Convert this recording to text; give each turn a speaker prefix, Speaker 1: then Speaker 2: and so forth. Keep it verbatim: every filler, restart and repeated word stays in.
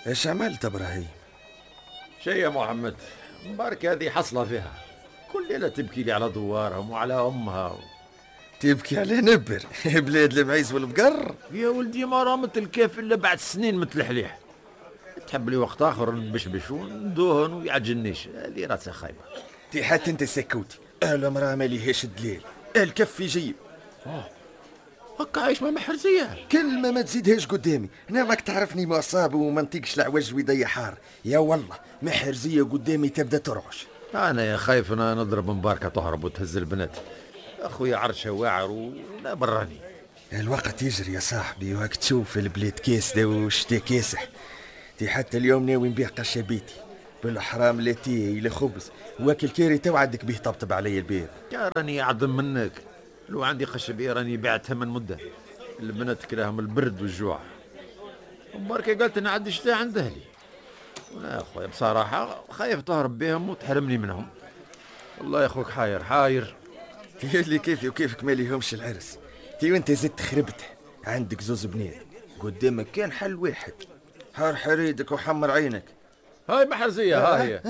Speaker 1: ايش عملت ابراهيم؟
Speaker 2: شيء يا محمد، مبارك هذه حصله فيها، كل ليلة تبكي لي على دوارهم وعلى امها.
Speaker 1: تبكي على نبر بلاد المعيز والبقر.
Speaker 2: يا ولدي ما رامت الكيف الا بعد سنين مثل الحليح. تحب لي وقت اخر نبشبش وندوهن ويعجلنيش، هذه راسها خايبة.
Speaker 1: تي حتى انت سكوتي، المراة ما ليهاش الدليل، الكف يجيب.
Speaker 2: اه هكا عايش مع محرزيه.
Speaker 1: كلمة ما تزيدهاش قدامي، انا ماك تعرفني مصاب وما نطيقش العوج ويضيع حار. يا والله محرزيه قدامي تبدا ترعش.
Speaker 2: انا يا خايف انا نضرب مباركة تهرب وتهز البنات. اخويا عرشه واعر ولا براني.
Speaker 1: الوقت يجري يا صاحبي، وهاك تشوف البلاد كاسده والشتا كاسح. تي حتى اليوم ناوي نبيع قشه بيتي بالحرام، لا تي لا خبز، واكل كاري تو عندك به طبطب علي الباب.
Speaker 2: يا راني اعظم منك، لو عندي قشبيه راني بعتها من مده. البنات كلاهم البرد والجوع. مباركة قالت انا عندي شتاء عند اهلي. ولا اخويا بصراحة خايف تهرب بهم وتحرمني منهم. والله يا اخوك حاير حاير.
Speaker 1: تي اللي كيفي وكيفك ما ليهمش العرس. تي وانت زدت خربت، عندك زوز بنات قدامك كان حل واحد، حار حريدك وحمر عينك.
Speaker 2: هاي محرزيه، ها هي.